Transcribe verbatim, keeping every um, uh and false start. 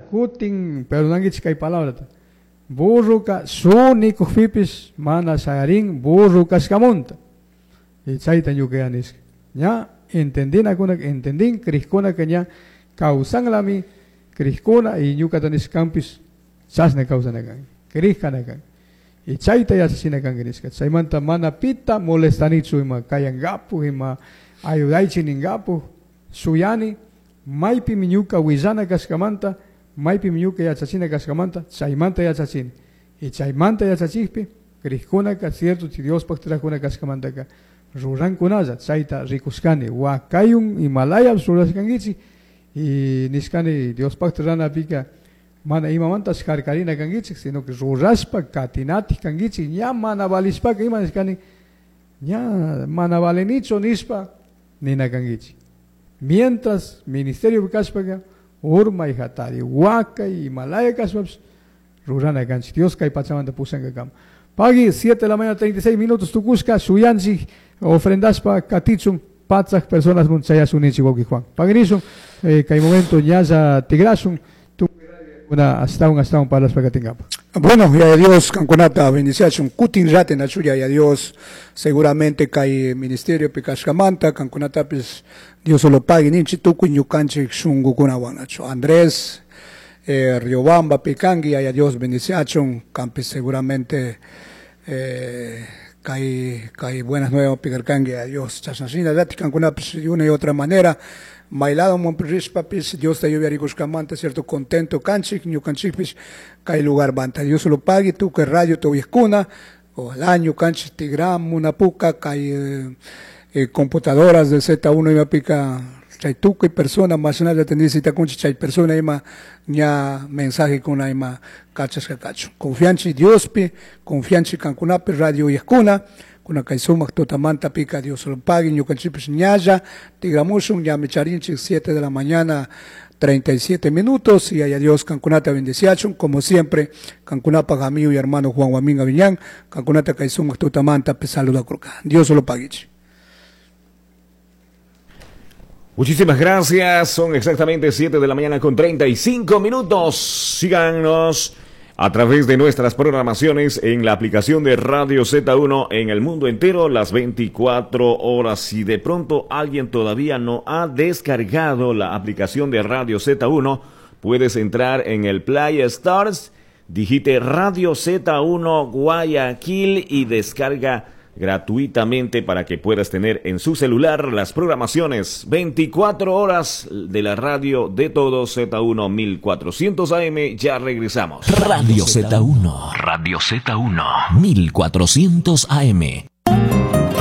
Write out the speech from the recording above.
Kutin perdonankichik kay palabrata. Burruka sunikukpipis mana shayarin burru kashkamunta. Y chayta ñuka nishka. Ña entendinakuna entendin krikkunaka ña kawsanlami krikuna y ñukata nishkanpis chashna kawsana kan. Krikana kan. Y chayta yachachina kanki nishka. Chaymanta mana pita molestanichu ima kayangapu ima ayudaychi ningapu shuyani maypimi ñuka willana kashkamanta maypimi ñuka yachachina kashkamanta chaymanta yachachini. Y chaymanta yachachikpi krikkunaka cierto Diospaj trakuna kashkamantaka rurankunalla chayta rikushkani wakayun imalayap rurashkankichik y nishkani Diospaj ranapika mana imamantash harkarina kankichik sino que rurashpa katinatik kankichik ña mana valishpaka ima nishkani ña mana valenichu nishpa nina kankichik. Mientras ministerio kashpaka urmay hatari wakay imalaya kashpapish rurana kanchik Dios kay pachamanta pushankakama. Pagui siete de la mañana treinta y seis minutos tukushka shuyanchik ofrendashpa katichun patsaj personas munchayashun wawqi Juan. Paguinishun eh, kay momento ñalla tigrashun una hasta un hasta un parlashpa katingapa. Bueno, ya Dios kankunata bendiciachun kutin raten achuya ya Dios seguramente kay ministerio pikashkamanta kankunatapis Dios lo pague ninchi tukuy ñukanchik shunkukunawan achu Andrés eh, Riobamba pikangi ya Dios bendiciachun campis seguramente eh, kay kay buenas nuevas pikarkangi a Dios chasnashina rati kankunapis de una y otra manera mailado papis Dios te ayude cierto contento kanchik ñukanchikpis kay lugar banta Dios lo pague tu que radio tu vieskuna ojalá ñukanchik tigram una puka kay eh, eh, computadoras de Z uno ima pica chay tukuy persona más nada tendici kunchi chay persona ima ña mensaje kuna ima kachashka kachu confianchi Diospi confianchi kankunapi radio yeskuna kuna kay sumaq tutamanta pika Dios lo pague ñukanchikpis ñalla tigramushun ñami charinchik siete de la mañana treinta y siete minutos y haya Dios kankunata bendeciachun como siempre kankunapa amigo y hermano Juan Guamín Aviñán kankunata kay sumaq tutamanta saluda kurka Dios lo pague. Muchísimas gracias, son exactamente siete de la mañana con treinta y cinco minutos. Síganos a través de nuestras programaciones en la aplicación de Radio Z uno en el mundo entero, las veinticuatro horas. Si de pronto alguien todavía no ha descargado la aplicación de Radio Z uno, puedes entrar en el Play Stars, digite Radio Z uno Guayaquil y descarga gratuitamente para que puedas tener en su celular las programaciones veinticuatro horas de la radio de todos Z uno mil cuatrocientos A M. Ya regresamos. Radio Z uno. Radio Z uno mil cuatrocientos A M.